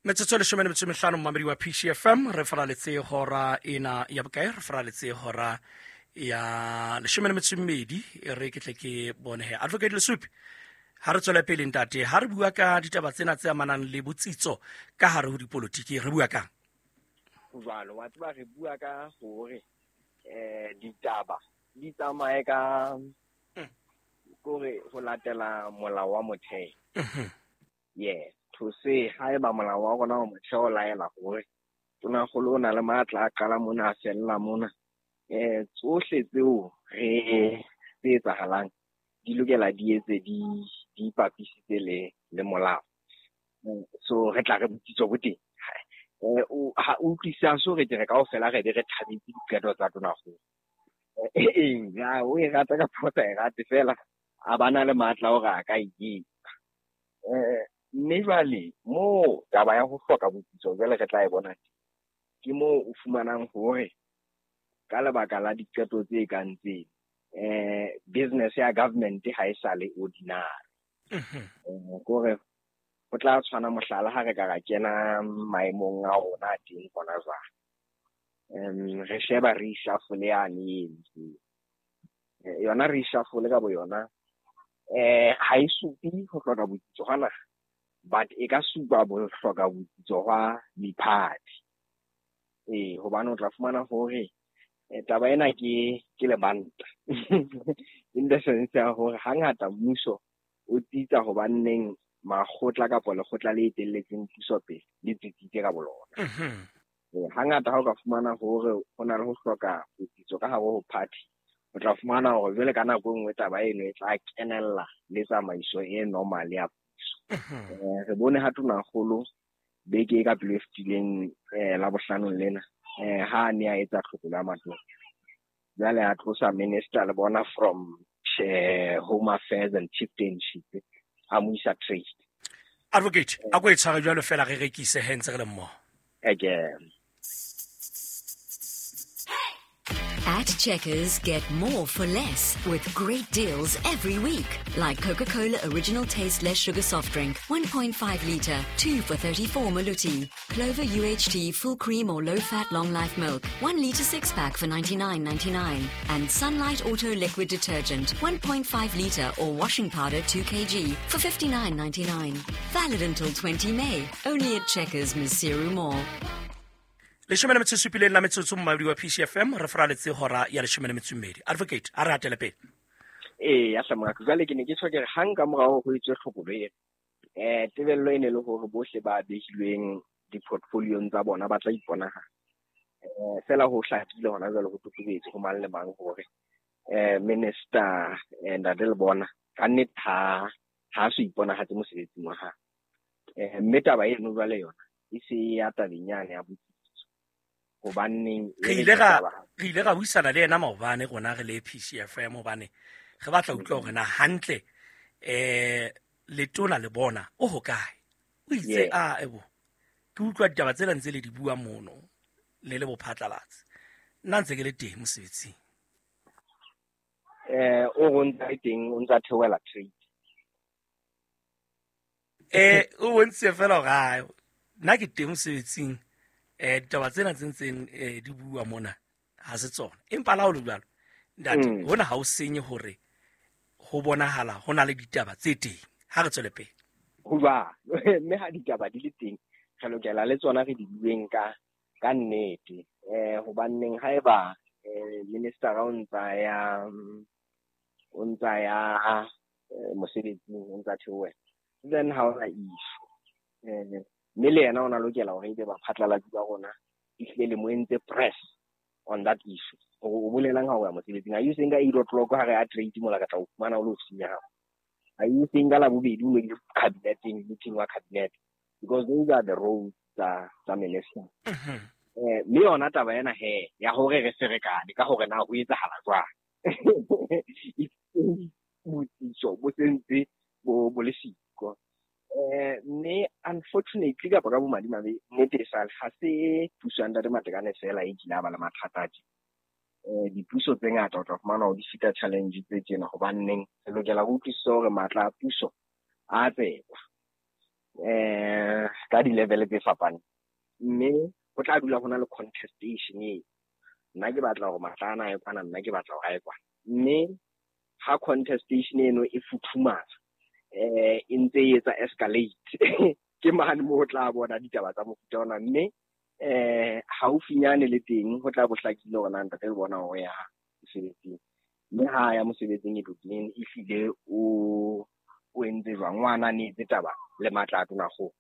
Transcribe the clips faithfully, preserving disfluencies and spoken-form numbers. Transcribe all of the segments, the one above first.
Metsotso e leshome le metso e mehlano, momamedi wa P C F M. Re faraletse hora ena ya bokae? Re faraletse hora ya leshome le metso e mmedi. E re ke tle ke bone he, Advocate Lesupi, ha re tswele pele, ntate. Ha re bua ka ditaba tsena tse amanang le botsitso ka hare ho dipolotiki, re bua kang? Jwalo wa tseba, re bua ka hore eh ditaba di tsamaye ka kore ho latela molao wa motheo. Mhm. Yeah, to say haeba molao wa rona wa motheo o laela hore tonakgolo o na le matla a qala mona, a fella mona, eh tsohle tseo re tse etsahalang di lokela di etse di di ipapisitse le le molao. Mm, so re tla re botsitso bo teng. eh o ha o utlwisisa, so re ke re kaofela re be re thabetse diqeto tsa tonakgolo. Eh ya, o e rata kapa o sa e rate, fela a bana le matla a hore a ka e etsa. eh mme jwale moo taba ya ho hloka botsitso jwale re tla e bona teng, ke moo o fumanang hore ka lebaka la diqeto tse kang tseno, eh business ya government ha e sa le ordinary. Mhm. Eh, kore ho tla tshwana, mohlala, ha re ka ra kena maemong a rona a teng hona jwale, um re sheba reshuffle yane e entsweng. Eh, yona reshuffle ka bo yona eh ha e supe ho hloka botsitso hwa naha, but e ka supa bo hloka botsitso hwa di-party. Ee, hobane o tla fumana hore eh, taba ena ke ke lebanta in the sense ya hore hangata mmuso o tsitsa hobanneng makgotla kapa lekgotla le etelletseng puso pele le tsitsitse ka bolona. Mhm. Eh, hangata ha o ka fumana hore ho na le ho hloka botsitso ka hare ho party, o tla fumana hore jwale ka nako e nngwe taba eno e tla kenella le tsamaiso e normal ya puso. Mhm. Eh, re bone ha tonakgolo beke e ka pele e fetileng, eh, la bohlanong lena, eh, ha a ne a etsa tlhokolo ya matona, jwale a tlosa minister le bona from eh, home affairs and chieftainship, a mo isa trade. Advocate, a ko e tshware jwalo fela, re rekise he ntse re le mmoho. Again. At Checkers, get more for less with great deals every week. Like Coca-Cola Original Taste Less Sugar Soft Drink, one point five litre, two for thirty-four Maluti. Clover U H T Full Cream or Low Fat Long Life Milk, one litre six pack for ninety-nine ninety-nine. And Sunlight Auto Liquid Detergent, one point five litre or washing powder two kilograms for fifty-nine ninety-nine. Valid until twenty May. Only at Checkers, Maseru Mall. Leshome le metso e supileng la metsotso, momamedi wa P C F M. Re faraletse hora ya leshome le metso e mmedi. Advocate, a re hatele pele. Ee, ya hlamaka. Jwale ke ne ke tjho ke re hang ka morao ho etswe tlhokolo ena, eh tebello e ne le hore bohle ba behilweng di-portfoliong tsa bona ba tla iponahala. eh fela ho hlakile hona jwale, ho totobetse ho mang le mang hore eh minister eh, Ntate Lebona ka nnete ha ha so iponahatse mosebetsing wa hae. eh mme taba eno jwale yona e se ya tabeng yane ya botsitso, hobaneng e Re re ile ra ditaba- re ile ra buisana le yena maobane rona re le P C F M, hobane re batla ho utlwa hore na hantle eh letona le bona o hokae. O itse, Yeah. a ebo ke utlwa ditaba tsena ntse le di bua mono le le bophatlalatse, nna ntse ke le teng mosebetsing. eh o re o ntse a le teng, o ntse a theohela trade. eh o bontshitse fela hore ai, nna ke teng mosebetsing, eh ditaba tsena tse ntseng eh, di bua mona ha se tsona. Empa la ho le jwalo, ntate, Mm. hona ha o senye hore ho bonahala ho na le ditaba tse teng. Ha re tswele pele. Ho jwalo, mme ha ditaba di le teng, re lokela le tsona re di bueng ka ka nnete. eh hobaneng haeba eh minister o ntsa ya o ntsa ya eh, mosebetsing, o ntsa theohela, then ha ona issue. eh mme le yena o na lokela hore ebe baphatlalatsi ba rona ehlile le mo entse press on that issue, hore o bolelang ha o ya mosebetsing. Are you saying ka eight o'clock ha re ya trade mola ka tla o fumana o le ofising ya hao? Are you saying ka Labobedi o ile cabineteng, meeting wa cabinet? Because those are the roles tsa tsa minister. Mhm. eh mme yona taba ena he ya hore re ferekane ka hore na ho etsahala jwang, botsitso bo sentse bo bo le siko. eh mme unfortunately, kapa ka bomadimabe, nnete e sale ha se puso ya Ntate Matekane fela e kile a ba le mathata a tje. eh dipuso tse ngata o tla fumana hore di feta challenge tse tjena, hobanneng re lokela ho utlwisisa hore matla a puso a tsekwa. eh ka di-level tse fapaneng. Mme ho tla dula ho na le contestation eo. Nna ke batla hore matla ana a ye kwana, nna ke batla hore a ye kwana. Mme ha contestation eno e futhumala, eh e ntse e etsa escalate, ke mane moo o tla bona ditaba tsa mofuta ona. Mme eh haufinyane le teng ho tla bo hlakile hore na ntate le bona hore ya mosebetsing. Mme ha ya mosebetsing e mean ehlile o o entse jwang, o ananetse taba le matla a tonakgolo.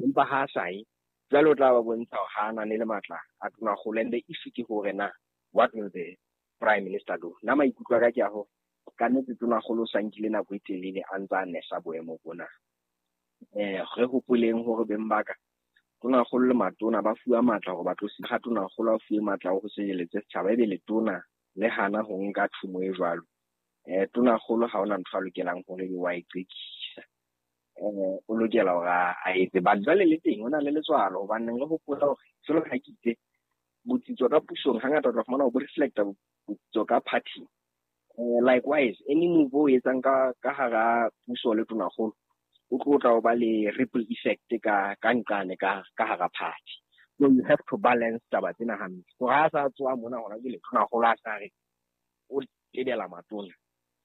Empa ha a sa ye, jwale o tla ba bontsha hore ha anane le matla a tonakgolo. And the issue ke hore na what will the prime minister do? Nna maikutlo a ka ke a hore ka nnete tonakgolo o sa nkile nako e telele a ntse a nesa boemo bona. Eh re hopoleng hore beng ba ka tonakgolo le matona ba fuwa matla hore ba tlo ha tonakgolo a fuwe matla ho sireletse setjhaba, ebe letona le hana ho nka thumo e jwalo. Eh tonakgolo ha hona ntho a lokelang hore ebe wa e qekisa. Eh o lokela hore a etse, but jwale le teng o na le letswalo, hobane re hopola hore jwalo ka ha ke itse botsitso ka pusong hangata o tla fumana bo reflecta botsitso ka party. Eh likewise any move o etsang ka ka hara puso le tonakgolo o tlo tla o ba le ripple effect ka ka nqane ka ka hara party. So you have to balance taba tsena hantle. Hore ha sa tsoa mona hona jwale tonakgolo a sa re o tebela matona,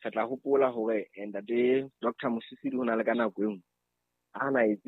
re tla hopola hore ntate Doctor Mosisili ho na le ka nako e nngwe a na etse